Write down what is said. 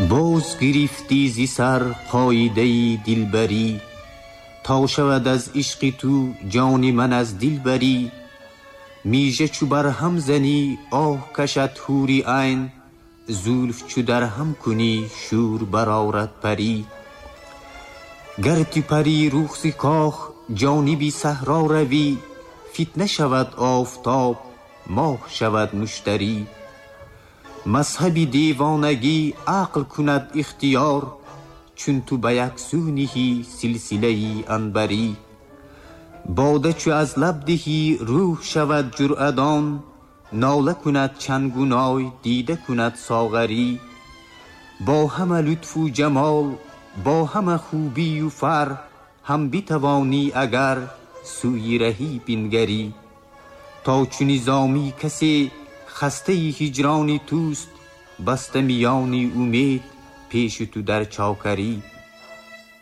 Боз гирифтӣ зи сар қоидаи дилбарӣ, то шавад аз ишқи ту ҷони ман аз дил барӣ. Мижа чу барҳам занӣ, оҳ кашад ҳури айн, зулф чу дарҳам кунӣ, шӯр барорад парӣ. Гар ту парӣ рух зи кох ҷониби саҳро равӣ, фитна шавад офтоб, моҳ шавад муштарӣ. Мазҳаби девонагӣ ақл кунад ихтиёр, чун ту ба як сӯ ниҳӣ силсилаи анбарӣ. Бода чу аз лаб диҳӣ, рӯҳ шавад ҷуръадон, нола кунад чангу ной, дида кунад соғарӣ. Бо ҳама лутфу ҷамол, бо ҳама хубию фар, ҳам битавонӣ агар сӯи раҳӣ бингарӣ. То чу Низомӣ касе хастаи ҳиҷрони туст, баста миёни умед пеши ту дар чокарӣ.